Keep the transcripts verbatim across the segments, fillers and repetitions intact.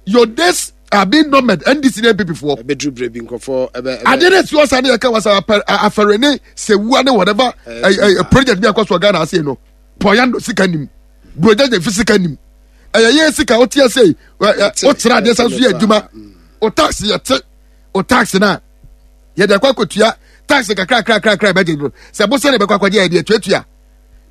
Your days are being numbered, N D C ne N P P foɔ. Ɛbɛduru berɛ bi, nkurɔfoɔ ɛbɛ ɛbɛ Adeɛ no esi hɔ saa ne yɛka wasa afɛre ne sewua ne whatever ɛ ɛ project bi akɔ so wɔ Ghana ase no, pɔyando sika nim, burojɛgye fi sika nim, ɛyɛ yɛn sika o ti ase ɛ ɛ o kyerɛ adeɛ san so yɛ adwuma o. Tax yɛ te o, tax na yɛde akɔ akɔtua tax kakra kakra kakra, ɛbɛgye no sɛ bosa ne bɛkɔ akɔgye, yɛde atuatua.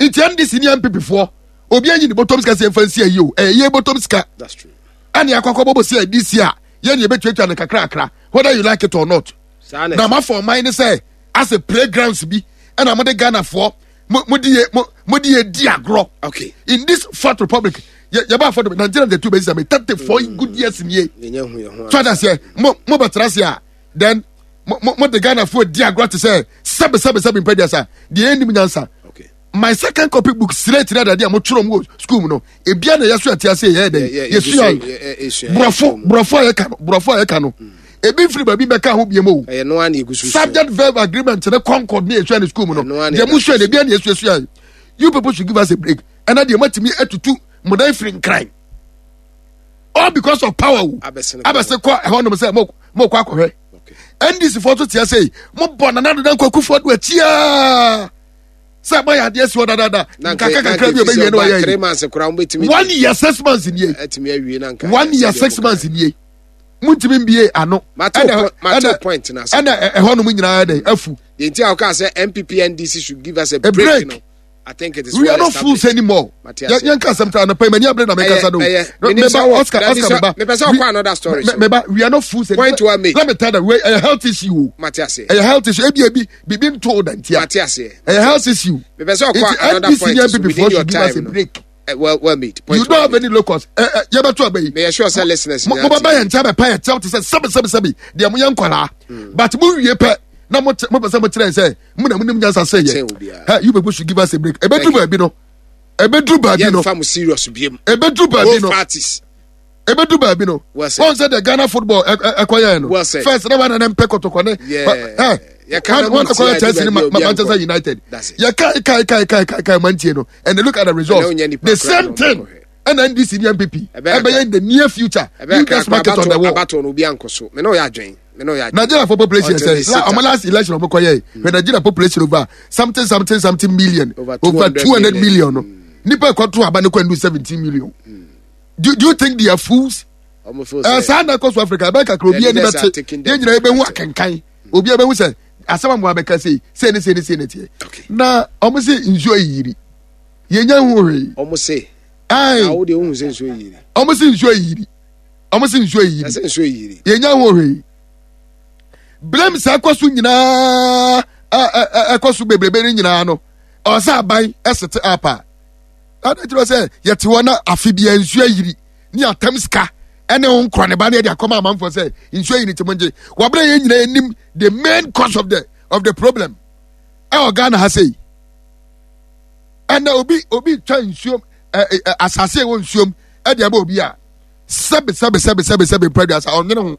Nti N D C ne N P P foɔ, obi anyi ne bɔtɔm sika sɛ yɛmfa nsi ayi o, ɛyɛ yɛn bɔtɔm sika. That's true. Ɛne akɔ akɔbɔ bɔ si a D C a yɛn yɛbɛtuatua no kakrakra, whether you like it or not. Saa na na ma fɔ ɔman ne sɛ asɛ playgrounds bi ɛna mo de Ghanafoɔ mo mo de yɛ mo mo de yɛ di agorɔ. Okay in this Fourth Republic, yɛ yɛ b'a fɔ do nineteen ninety two bɛ sisan mɛ thirty four good years nie. Yɛnyɛ hu yɛn ho. So adaseɛ mo mo bɛ tena se a, then mo mo mo de Ghanafoɔ di agorɔ te sɛ sɛbi sɛbi sɛbi mpɛduasa deɛ ɛnim nyansa. Okay my second copy book slate na dade a mo twerɛ mu wɔ school mu no, ebia na yɛso ɛte ase yɛ dɛ yɛsua yɛsua. Borɔfo borɔfo a yɛka no, borɔfo a yɛka no, ebi nfiri baabi bɛka ho biem o. Ɛyɛ noa na egu so sua. Subject verb agreement ne concord ne yɛsua ne school mu no. Ɛno ara na deɛ yɛda mo sua so. no, ebia na yɛsuasua. You people should give us a break. Ɛna deɛ matumi atutu mo dan firi Nkran all because of power o. Abɛsene. Abɛsɛ kɔ ɛhɔ nom sɛ mo mo kɔ akɔhwɛ. Okay N D C foɔ to tia sɛ mo bɔ Nana Dodo Nkɔ Akufo Ado akyiaa sɛ moayɛ adeɛ si hɔ dadaada. Na nka nkaka na kakra nka bi a ɔbɛwie no ɔba ɔyɛ three yi months koraa wobɛtumi one year six months nie. Atumi awie na nka One year six months nie, muntumi mbie ano. Mate ɛna wo po- mate wo ɛna point na ase. Ɛna ɛ- ɛhɔ nom nyinaa dɛ afu. The nti a wokaa sɛ N P P N D C should give us a A break, break. no, I think it is We well are not fools established. anymore. Mate ase. Yɛn ka asɛm ta anapa yi, mani abere na meka sa no. Ɛyɛ- No, menim sɛ meba wɔ- Oscar, Dabi Oscar, sɛ- meba. mepɛ sɛ We- ɔkɔ another story me- so. Meba, we are not fools anymore. Point well made. Let me tell you, we ɛyɛ health issue o. Mate ase. Ɛyɛ health issue, ebi ebi bibi nto da ntia. Mate aseɛ. Ɛyɛ health issue. Mepɛ sɛ ɔkɔ Nti another N D C point ne so N P P within foɔ your should give us a time no. break. Eh, well well made. Point You don't well have made. any locus. Ɛ ɛ yɛbɛto aba yi, Meyɛ sure sɛ listeners mo nyinaa mo bɛba tie. yɛn nkyɛn bɛpa yɛn kyɛw te sɛ sɛbi sɛbi sɛbi deɛ mo yɛ nkwaraa, but mo wie pɛ na mo mo pɛ sɛ mo kyerɛ sɛ mo na mo nim nyansa sɛ Kyɛn yɛ. obiara. Ɛ you people should give us a break. Ebeduru Thank you. baabi no, ebeduru baabi no, Yɛmfa mo serious biem. Ebeduru baabi Both no, parties. Ebedu baabi no, Well said. wɔn sɛ the Ghana football ɛ ɛ ɛkɔ yɛn no Well said. first na wɔn nana mpɛ Kɔtɔkɔ ne Yeah. ɛ Yɛka na wɔn mo akɔyɛ tie Chelsea ne ade Ma- baabi a obiara Manchester nkɔ. United. That's it. Yɛ kai kai kai kai kai kai mantie no, and they look at the results, Ɛnɛ wonya nipa the koraa same na thing ɔmo kɔhwɛ. Ɛna N D C ne N P P Ɛbɛyɛ ɛbɛyɛ in the near future. Ɛbɛyɛ You just mark it on the wall. Abato no, obi ankɔ so. Me ne ɔyɛ adwen, me ne ɔyɛ adwen. Nigeria for population Until they sɛ sit la ɔmo up. last election ɔmo kɔ yɛ when Nigeria population over something something something million, Over over two hundred two hundred million. million no, nipa ɛkɔto aba ne kɔ ndu seventeen million. do do you think they are fools? Ɔmo feel ɛ sɛ saa na ɛkɔ so Africa, ɛbɛn kakra obi The ani leaders are bɛte taking them yɛn nyinaa yɛbɛhu for granted. akenkan, obi abɛhu sɛ asɛm a mo abɛka sei sei ne sei ne sei ne teɛ. Okay. Na ɔmo sɛ nsuo yiri, yɛnya hu hwee. Ɔmo se ayi na wo deɛ, wohu sɛ nsuo yiri? Ɔmo sɛ nsuo yiri, ɔmo sɛ nsuo yiri. Ɛsɛ nsuo yiri. Yɛnya ho hwee. Blame sɛ ɛkɔ so nyinaa, ɛ- ɛ- ɛ- ɛkɔ so bebrebe no nyinaa no, ɔsɛ aban ɛsete up a ade kyerɛ sɛ yɛte hɔ na afe bia nsuo ayiri ne atam sika ɛne ho nkorɔ ne ba ne yɛde akɔma amanfoɔ sɛ nsuo ayiri, nti mo ngye wɔbrɛ. Yɛn nyinaa anim the main cause of the of the problem ɛwɔ Ghana ha sei. Ɛnna obi obi twa nsuom ɛ ɛ asase a ɛwɔ nsuom ɛde ama obi a, sɛbi sɛbi sɛbi sɛbi sɛbi mpɛduasa, ɔnwene ho.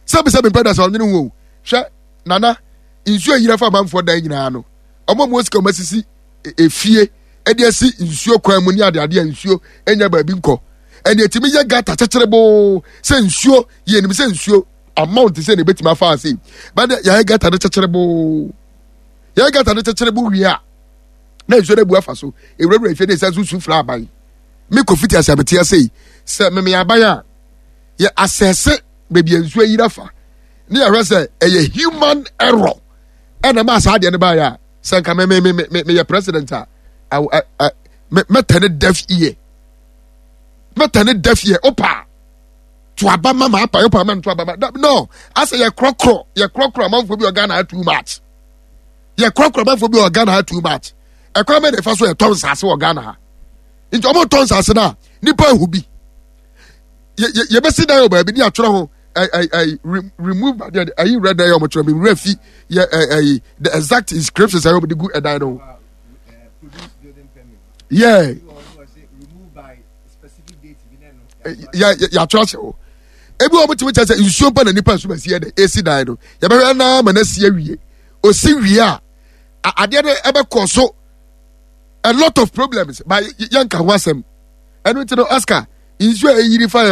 Sɛbi sɛbi mpɛduasa, ɔnwene ho o. Hwɛ nana, nsuo ayiri afa amanfoɔ dan nyinaa no, ɔmo a mo sika ɔmo asisi e- efie ɛde asi nsuo kwan mu ne adeade a nsuo enya baabi nkɔ, ɛne etimi yɛ gutter kyekyere boo sɛ nsuo yɛ nim sɛ nsuo amount sɛ na ebetumi afa ase bɛde yɛayɛ gutter no kyekyere boo. Yɛayɛ gutter no kyekyere boo wie a, na nsuo no abu afa so ewurawura efie ne nsa nso su fira aban. Me kɔ fiti ase abɛte ase yi sɛ meme aban a yɛ asɛse baabi a nsuo ayiri afa ne yɛhwɛ sɛ ɛyɛ human error ɛna maa saa adeɛ no baayɛ a, sɛ nka me me me me meyɛ president a, aw ɛ ɛ me mɛtɛ ne deaf ear, mɛtɛ ne deaf ear. Opa to aba ma ma apa, opa ma nto aba ma da- no asɛ yɛ korɔkorɔ, yɛ korɔkorɔ amanfoɔ bi wɔ Ghana ha too much. Yɛ korɔkorɔ amanfoɔ bi wɔ Ghana ha too much. Ɛkwan bɛ na ɛfa so yɛtɔ nsaase wɔ Ghana ha? Nti ɔmo tɔ nsaase no a, nipa ehu bi yɛ yɛ yɛbɛsi dan wɔ baabi ne atwerɛ ho ɛ ɛ ɛ re- remove adeɛ ɛyi rɛ dan yɛ ɔmo twerɛ mi wura fi yɛ ɛ ɛyi the exact inscriptions a ɔmo de gu ɛdan no ho. Yɛ yɛ yɛatwerɛ ahyɛ hɔ. Ebi wɔn tumi kyerɛ sɛ nsuo mpa na nipa nso bɛsi yɛ dɛ esi dan no, yɛbɛhwɛ naa ma na si awie. Osi wie a, a- adeɛ no ɛbɛkɔ so a lot of problems, but yɛnka ho asɛm. Ɛno ti no, Oscar, nsuo a eyiri fa yɛ.